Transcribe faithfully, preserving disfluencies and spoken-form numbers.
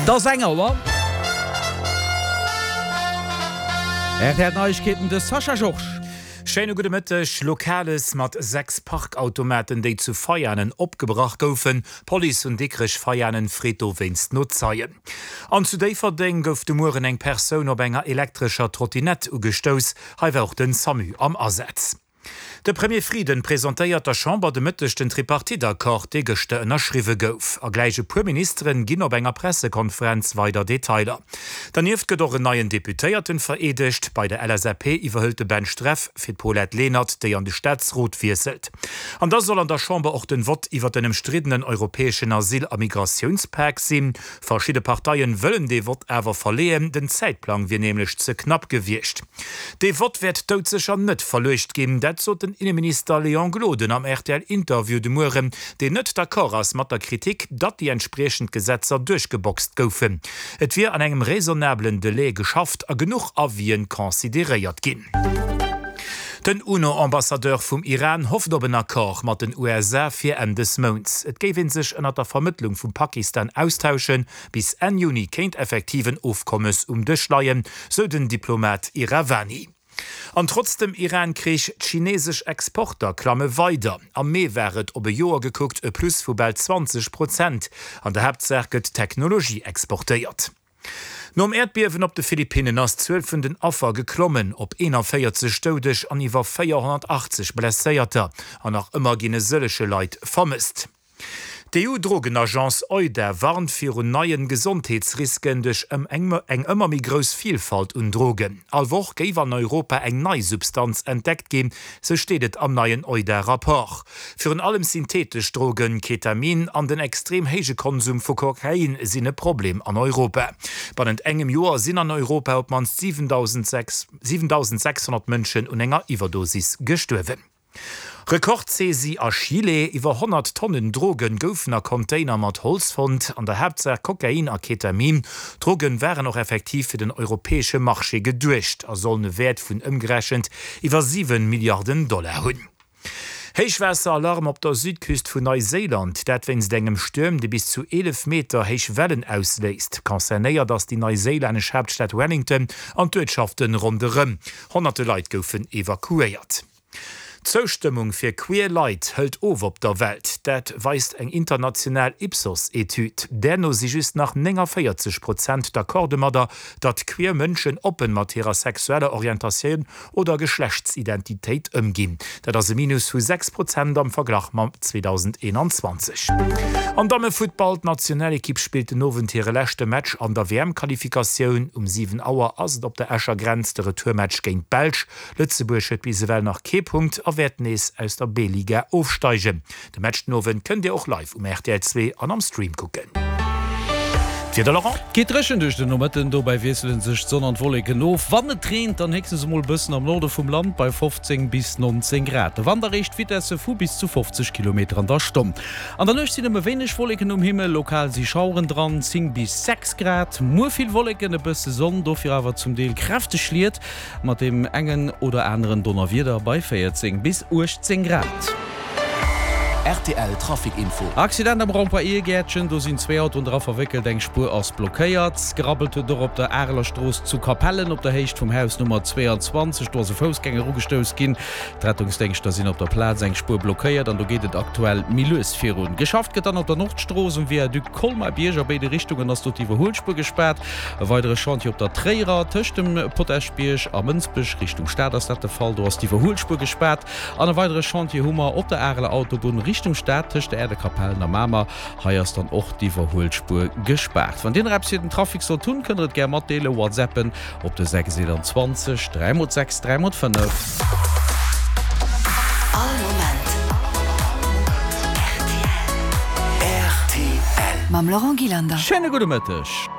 Et ass eng Auer. R T L Neiegkeeten, de Sascha Georges. Schéine gudde Mëtteg. Lokales mat sechs Parkautomaten, déi zu Veianen opgebrach goufen. D'Police vun Dikrech-Veianen freet dowéinst no Zeien. An zu Déifferdeng gouf de Mueren eng Persoun op enger elektrescher Trottinett ugestouss. Hei war och den Samu am Asaz. De Premier Frieden presentéiert der Chamber de Mëtteg den Tripartite-Accord, dee gëschter ënnerschriwwe gouf. A gläich e puer Ministeren ginn op enger Pressekonferenz weider Detailer. Dernieft gëtt och en neien Deputéierten vereedegt. Bei der L S A P iwwerhëlt de Ben Streff fir d'Paulette Lenert, déi an de Staatsrot wiesselt. An da soll an der Chamber och den Vott iwwer den ëmstriddenen europäeschen Asyl a Migratiounspak sinn. Verschidde Parteien wëllen dee Vott awer verleeën, den Zäitplang wier nämlech ze knapp gewiescht. Dee Vott wäert doudsécher net verluecht ginn, dat sot den Inneminister Léon Gloden am R T L-Interview de Mueren, deen net d'accord ass mat der Kritik, datt déi entspriechend Gesetzer duerchgeboxt goufen. Et wier an engem raisonnablen Delai geschafft a genuch Avisen consideréiert ginn. Den UNO-Ambassadeur vum Iran hofft op en Accord mat den U S A fir Enn des Mounts. Et géif ee sech ënner der Vermëttlung vum Pakistan austauschen, bis Enn Juni kéint effektiv en Ofkommes um Dësch leien, sou den Diplomat Iravani. An trotz dem Iran-Krich, d'chinesesch Exporter klamme weider. Am Mee war et op e Joer gekuckt e Plus vu bal zwanzeg Prozent. An der Haaptsaach gëtt Technologie exportéiert. Nom Äerdbiewen op de Philippinnen ass d'Zuel vun den Affer geklommen op eenanvéierzeg Doudeg an iwwer véierhonnertachtzeg Blesséierter. An nach ëmmer ginn e sëllege Leit vermësst. D'E U-Drogenagence EUDA warnt virun neien Gesondheetsrisken duerch eng ëmmer méi grouss Vilfalt un Drogen. All Woch géif an Europa eng nei Substanz entdeckt ginn, sou steet et am neien EUDA-Rapport. Virun allem syntheetesch Drogen, Ketamin an den extrem héije Konsum vu Kokain sinn e Problem an Europa. Bannent engem Joer sinn an Europa op d'mannst siwentausendsechshonnert Mënschen un enger Iwwerdosis gestuerwen. Rekordsaisie a Chile, Iwwer honnert Tonnen Drogen goufen a Container mat Holz fonnt, an der Haaptsaach Kokain a Ketamin. D'Droge waren och effektiv fir den europäesche Marché geduecht a sollen e Wäert vun ëmgerechent iwwer siwen Milliarden Dollar hunn. Héichwaasser-Alarm op der Südküst vun Neuséiland, dat wéinst engem Stuerm, dee bis zu eelef Meter héich Wellen ausléist. Concernéiert ass déi neuséilännesch Haaptstad Wellington an d'Uertschafte ronderëm. Honnerte Leit goufen evakuéiert. D'Zoustëmmung fir queer Leit hëlt of op der Welt. Dat weist eng international Ipsos-Etüd. Där no si just nach nénganvéierzeg Prozent d'accord domadder, datt queer Mënschen oppen mat hirer sexueller Orientatioun oder Geschlechtsidentitéit ëmginn. Dat ass e Minus vu sechs Prozent am Verglach mam zweedausendeenanzwanzeg. Am Dammefuttball, D'Nationalekipp spillt den Owend hire leschte Match an der W M-Qualifikatioun. Um siwen Auer ass et op der Escher Grenz de Retourmatch géint d'Belsch. Lëtzebuerg huet bis ewell nach kee Punkt a wäert nees aus der B-Liga ofsteigen. De Match den Owend kënnt Dir och live um R T L zwee an am Stream kucken. D'Wieder, Laurent? Geet dréchen duerch den Nomëtten, dobäi wiessele sech d'Sonn an d'Wolleken of. Wann et reent, dann héchstens emol e bëssen am Norde vum Land bei fofzéng bis nonzéng Grad. De Wand erreecht Vitesse vu bis zu fofzeg Kilometer an der Stonn. An der Nuecht sinn nëmme wéineg Wolleken um Himmel, lokal si Schaueren dran, zéng bis sechs Grad. Muer vill Wolleken, e bësse Sonn, dofir awer zum Deel kräfteg Schliet mat deem engen oder aneren Donnerwieder bei véierzéng bis uechtzéng Grad. R T L Trafic Info. Accident am Rond-point Irgäertchen, do sinn zwee Autoen dra verwéckelt, eng Spuer ass blockéiert. Gerabbelt huet et och op der Areler Strooss zu Capellen op der Héicht vum Haus Nummer zweeanzwanzeg, do ass e Foussgänger ugestouss ginn. D'Rettungsdéngschter sinn op der Plaz, eng Spuer blockéiert an do geet et aktuell méi lues virun. Geschafft gëtt dann op der Nordstrooss um Viaduc Colmar-Bierg, a béide Richtungen ass do d'Iwwerhuelspuer gespaart. E weidere Chantier op der Tréierer tëscht dem Potaschbierg a Mënsbech, Richtung Stad ass dat de Fall, do ass d'Iwwerhuelspuer gespaart. An e weidere Chantier hu mer op der Areler Autobunn Richtung Stad tëscht der Äerdekapellen a Mamer. Hei ass dann och d'Iwwerhuelspuer gespaart. Wann Dir nach eppes fir den Trafic sollt hunn, kënnt der et gär matdeelen, WhatsAppen op de sechs eenanzwanzeg dräi mol sechs dräi mol fënnef. All Moment R T L. R T L. Mam Laurent Gillander. Schéine gudde Mëtteg.